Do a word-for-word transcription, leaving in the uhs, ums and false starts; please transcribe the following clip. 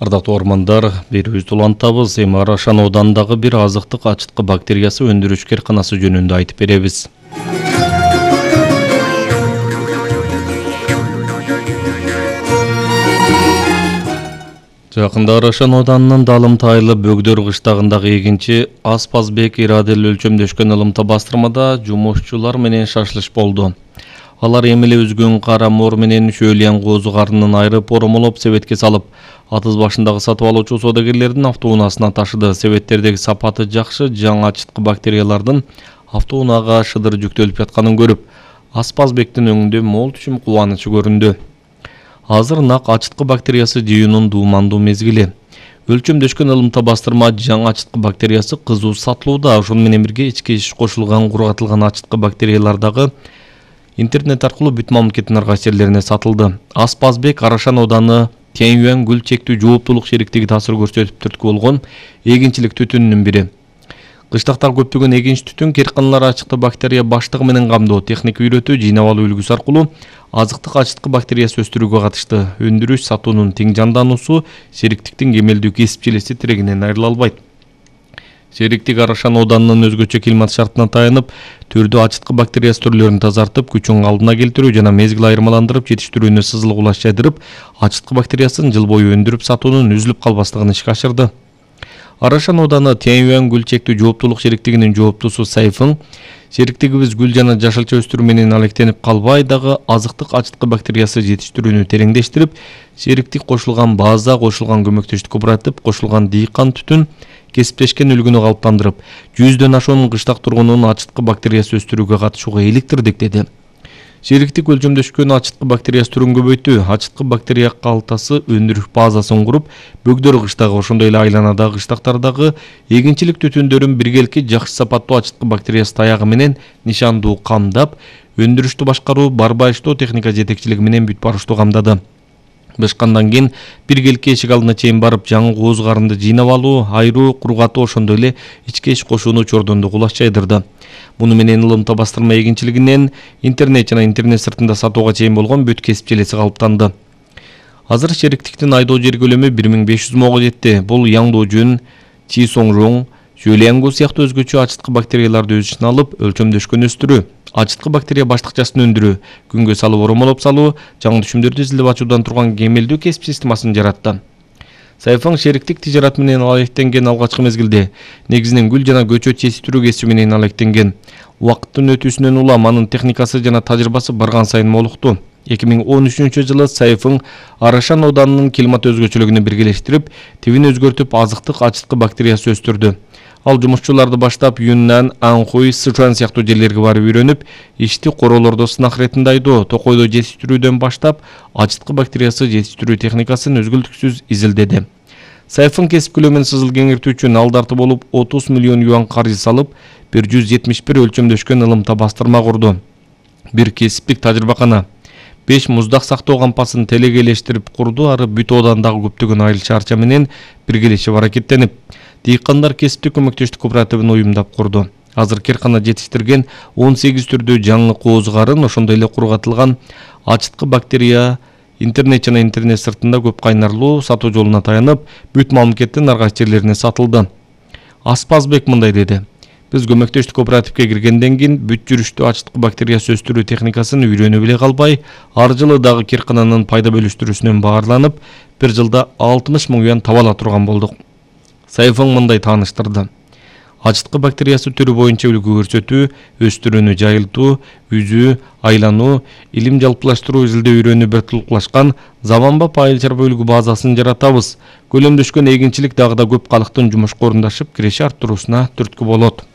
Ардактуу ормандар, берүүбүздү улантабыз. Эми Арашан оодандагы бир азыктык ачыткы бактериясы өндүрүш кээрканасы жөнүндө айтып беребиз. Жакында Арашан ооданынын Далымтайлы Бөгдөр кыштагындагы эгинчи Аспазбек ирадели өлчөмдөшкөн ылымта бастырмада жумушчулар менен шашылыш болду. Алар эми эле үзгөн кара мор менен шөөлөйөн коозу карынын айрып оромолоп себетке салып, атыз башындагы сатып алуучу соодагерлердин автоунаасына ташыды. Себеттердеги сапаты жакшы, жаңы ачыткы бактериялардын автоунаага шыдыр жүктөлүп жатканын көрүп, Аспазбектин өңүндө мол түшүм кубанычы көрүндү. Азыр нак ачыткы бактериясы жыюунун дуумандуу мезгили. Өлчөмдөшкөн ылымта бастырма жаңы ачыткы бактериясы кызуу сатылууда. Ошону менен бирге ички иш кошулган кургатылган ачыткы бактериялар дагы интернет аркылуу бүт мамлекеттин ар кайсы жерлерине сатылды. Аспазбек Арашан ооданы Тяньюань гүл чектүү жооптулук шериктиги таасир көрсөтүп түрткү болгон эгинчилик түтүнүнүн бири. Кыштактагы көптөгөн эгинч түтүн кээрканалар ачыктуу бактерия баштыгы менен камдоо, техника үйрөтүү, жыйнап алуу үлгүсү аркылуу азыктык ачыткы бактериясы өстүрүүгө катышты. Өндүрүш сатуунун тең жандануусу шериктиктин кемелдүү кесипчилеси тирегинен айрыла албайт. Шериктик Арашан ооданынын өзгөчө климат шартына таянып, түрдүү ачыткы бактериясы түрлөрүн тазартып, күчүн калдына келтирүү жана мезгил айырмаландырып, жетиштирүүнү сызылык улас жайдырып, ачыткы бактериясын жыл бою өндүрүп сатуунун үзүлүп калбастыгын ишке ашырды. Арашан ооданы Тяньюань гүл чектүү жооптулук шериктигинин жооптусу Сайфың, шериктигибиз гүл жана жашылча өстүрүү менен алектенип калбай дагы азыктык ачыткы бактериясы жетиштирүүнү тереңдештирип, шериктик кошулган база, кошулган көмөктөштүк кооператив, кошулган дыйкан түтүн кесиптешкен үлгүнү калыптандырып, жүздөн ашуун кыштак тургунун ачыткы бактериясы өстүрүүгө катышууга иликтирдик деди. Шериктик өлчөмдөшкөн ачыткы бактериясы түрүн көбөйтүү, ачыткы бактерия калтасы өндүрүш базасын куруп, Бөгдөр кыштагы, ошондой эле айланадагы кыштактардагы эгинчилик түтүндөрүн биргеликки жакшы сапаттуу ачыткы бактериясы таягы менен нишандуу камдап, өндүрүштү башкаруу, барбайыштоо техника жетекчилиги менен бүт барыштуу камдады. Бышкандан кийин биргеликке эшик алдына чейин барып, жаңы кооз карынды жыйнап алуу, айруу, кургатуу, ошондой эле ички иш кошууну чордондук улас жайдырды. Муну менен ылымта бастырма эгинчилигинен интернет жана интернет сыртында сатууга чейин болгон бүт кесипчилеси калыптанды. Азыр шериктиктин айдоо жер көлөмү бир миң беш жүз мыңга жетти. Бул Яңдоожун, Чисоңжоң, Жөлөңгү сыяктуу өзгөчө ачыткы бактерияларды өз ичине алып, өлчөмдөшкөн өстүрүү, ачыткы бактерия баштыкчасын өндүрүү, күнгө салып оромолоп салуу, жаңы түшүмдөрдү изилдеп ачуудан турган кемелдүү кесип системасын жаратты. Сайфың шериктик тижарат менен алектенген алгачкы мезгилде, негизинен гүл жана көчөт жетиштирүү кесиби менен алектенген. Убакыттын өтүүсүнөн улам анын техникасы жана тажрыйбасы барган сайын молукту. эки миң он үчүнчү жылы Сайфың Арашан ооданынын климат өзгөчөлүгүнү биргелештирип, тибин өзгөртүп, азыктык ачыткы бактериясы өстүрдү. Ал жумушчуларды баштап Юннан, Анхуй, Сычуан сыяктуу жерлерге барып үйрөнүп, ишти короолордо сынак иретинде айдоо, токойдо жетиштирүүдөн баштап, ачыткы бактериясы жетиштирүү техникасын өзгөлтүксүз изилдеди. Сайфың кесип көлөмүн сызыл кеңиртүү үчүн алдарты болуп отуз миллион юан каржы салып, бир жүз жетимиш бир өлчөмдөшкөн ылымта бастырма курду. Бир кесиптик тажрыйбакана, беш муздак сактоо кампасын телегелештирип курду, ары бүт оодандагы көптөгөн айыл чарча менен биргелешип аракеттенип, дыйкандар кесиптик көмөктөштүк кооперативин уюмдап курду. Азыр кээркана жетиштирген он сегиз түрдүү жаңы кооз карын, ошондой эле кургатылган ачыткы бактерия интернет жана интернет сыртында көп кайнарлуу сатуу жолуна таянып, бүт мамлекеттин ар кайсы жерлерине сатылды. Аспазбек мындай деди: Биз көмөктөштүк кооперативге киргенден кийин бүт жүрүштүү ачыткы бактериясы өстүрүү техникасын үйрөнүп эле калбай, ар жылы дагы кээркананын пайда бөлүштүрүүсүнөн баарланып, бир жылда алтымыш миң юан таба ала турган болдук. Сайфың мындай тааныштырды: ачыткы бактериясы түрү боюнча үлгү көрсөтүү, өстүрүүнү жайылтуу, үзүү, айлануу, илим жалпылаштыруу изилдөө үйрөнүү бир тулуклашкан заманбап айыл чарба үлгү базасын жаратабыз. Көлөмдөшкөн эгинчилик дагы да көп калктын жумушка орундашып, киреше арттыруусуна түрткү болот.